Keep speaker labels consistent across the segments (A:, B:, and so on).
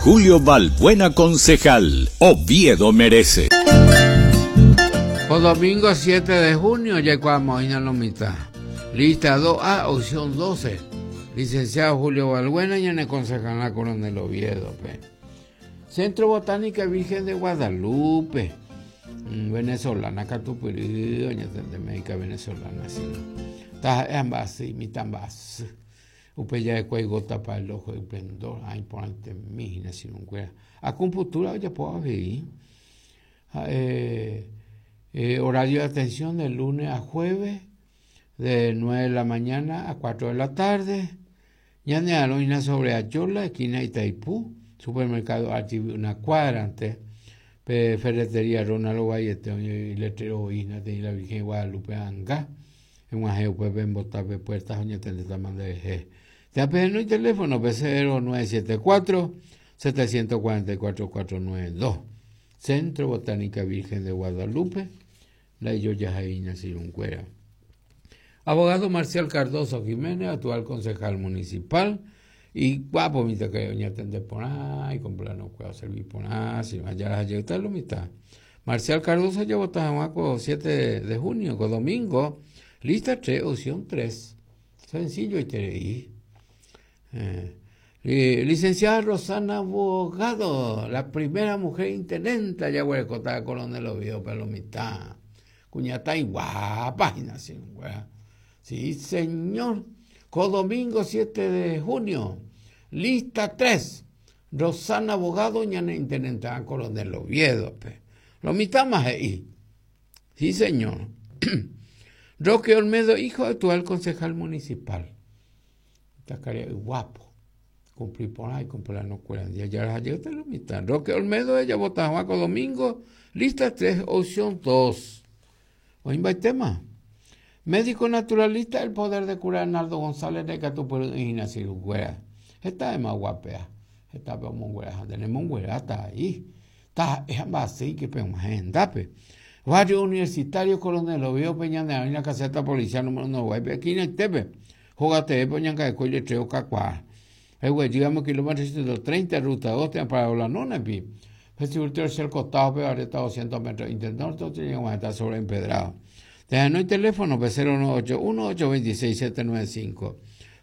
A: Julio Balbuena Concejal, Oviedo merece.
B: Ko domingo 7 de junio jaikuaamo'ãina lo mitã. Lista 2A, opción 12. Licenciado Julio Balbuena ñane concejala Coronel Oviedo-pe. Centro Botánica Virgen de Guadalupe. Mm, venezolana katupyry oñatende médica venezolana sino. Taha'e amba'asy, mitã mba'asy. Upe ja'ekue gota para el ojo esplendor, ha iporãitemi hína che irũnguéra. Acupuntura ojapo avei. Ha'e eh, horario de atención de lunes a jueves, de 9 de la mañana a 4 de la tarde. Ñane arõ hína sobre Ayola, esquina Itaipú, supermercado Archivi una cuadra ante pe ferretería Ronald Ovaiete oĩ letrero oĩ hína teĩ la Virgen de Guadalupe anga. Eg̃uahẽ upépe embota pe puerta ha oñatendétama nderehe. Térã pehenói teléfono-pe 0974 744 492. Centro Botánica Virgen de Guadalupe, ndaijojaháiña che irũnguéra. Abogado Marcial Cardozo Jiménez, actual concejal municipal, iguápo mitãkarai oñatende porã, ikomplanokuéra oservi porã, ajára ha jeyta lo mitã. Marcial Cardozo ojevota hag̃ua ko 7 de junio, ko domingo, lista 3, opción 3. Sencillo iterei. Eh, licenciada Rosana Bogado, la primera mujer intendente jaguerekóta Coronel Oviedo pe lo mitã. Kuñataĩ guápa hína che irũnguéra. Sí, señor. Ko domingo 7 de junio, lista 3. Rosana Bogado ñane intendenterã Coronel Oviedo-pe. Lo mitãma he'i. Sí, señor. Roque Olmedo, hijo actual concejal municipal. Takaria'y guapo. Cumplir porã y cumplir kuéra ndie. Jaraha jeýta lo mitã. Roque Olmedo ejavota hag̃ua ko domingo, lista 3, opción 2. Oĩmbaitéma. Médico naturalista el poder de curar Arnaldo González ndaikatupyry'ỹi hína sirukuéra. Heta ema guapea. Hetápe omonguera ha nde nemongueráta ai. Taha'e ha mba'asýike peg̃uahẽ hendápe. Barrio Universitario Coronel Oviedo-pe ñane arõina caseta policial número Noguáipe esquinaitépe. Hóga teépe oñangareko iletrero kakuaa. Eguejy amo kilómetro 130 ruta 2 térã Parado La Nona-pi. Festival tercer costado-pe barrieta 200 metros Internorte oñeg̃uahẽta sobre empedrado. Tehenói teléfono-pe 0981 826 795.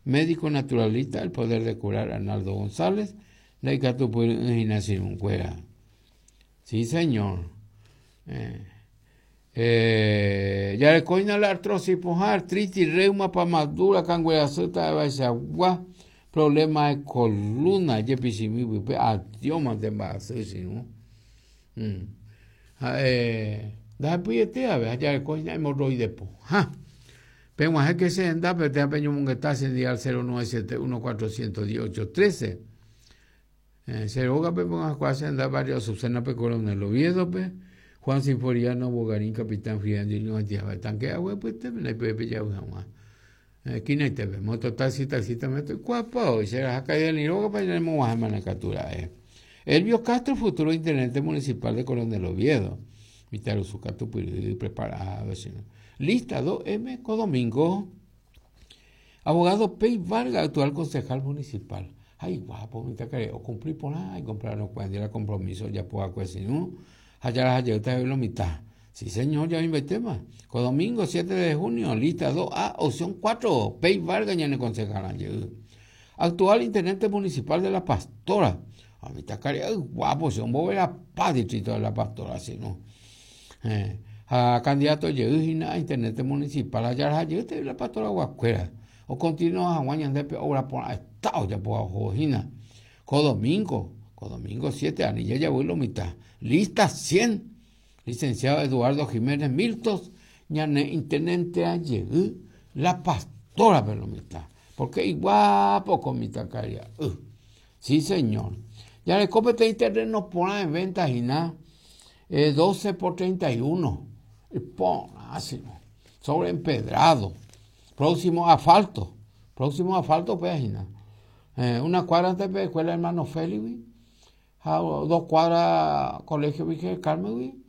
B: Médico naturalista El poder de curar Arnaldo González ndaikatupyry'ỹ hína che irũnguéra. Sí, señor. Eh. Eh, jarekóina la artrosis pohã, artritis, reuma, pamadura, kanguerasy, ta'evaichagua, problema de columna, jepichimi pype, atiómante mba'asy che irũ. Mm. Ha'e ndahepyiete ave, ha jarekóina hemorroide pohã. Peg̃uahẽke che hendápe térã peñomongeta che ndive al 0971 410 813. Eh, che rógape peg̃uahẽkuaa che henda barrio Azucena pe Coronel Oviedo-pe, Juan Sinforiano Bogarín Capitán Friandi ñoha'ãva tanque agua pytépe ndaipeve pejavy hag̃ua. Eh, esquinaitépe, mototaxi, taxista me toikuaapa oi, che raha Kaidani rógape ñanemog̃uahẽmane katu ra'e. Elvio Castro, futuro intendente municipal de Coronel Oviedo. Mitãrusu katupyry preparado che. Lista 2M ko domingo. Abogado Pey Vargas, actual concejal municipal. Ha iguápo mitãkarai ocumpli porã icomprarõ kuéra compromiso ojapo va'ekue che irũ ha jaraha jeýta jave lo mitã. Sí señor, ya oĩmbaitéma. Ko domingo 7 de junio, lista 2A, opción 4, Pey Vargas ñane concejal jey. Actual intendente municipal de La Pastora. Ha mitãkaria'y guápo che omboverapa distrito de La Pastora che irũ. Eh, ha candidato jey hína intendente municipal ha jaraha jeýta La Pastora guakuéra. Okontinua hag̃ua ñande pe obra porã heta ojapóva ohóvo hína. Ko domingo, ko domingo 7 ani jajavy lo mitã. Lista 100. Licenciado Eduardo Jiménez Miltos ñane intenentea jey La Pastora pe lo mitã. Porque iguápo ko mitãkaria'y. Sí, señor. Jareko peteĩ terreno porã en venta hína 12 por 31. Iporã, sino. Sobre empedrado. Próximo asfalto. Próximo asfalto upéva hína. Eh, una cuadra antes pe escuela hermano Félix-gui ha dos cuadra colegio Virgen del Carmen-gui.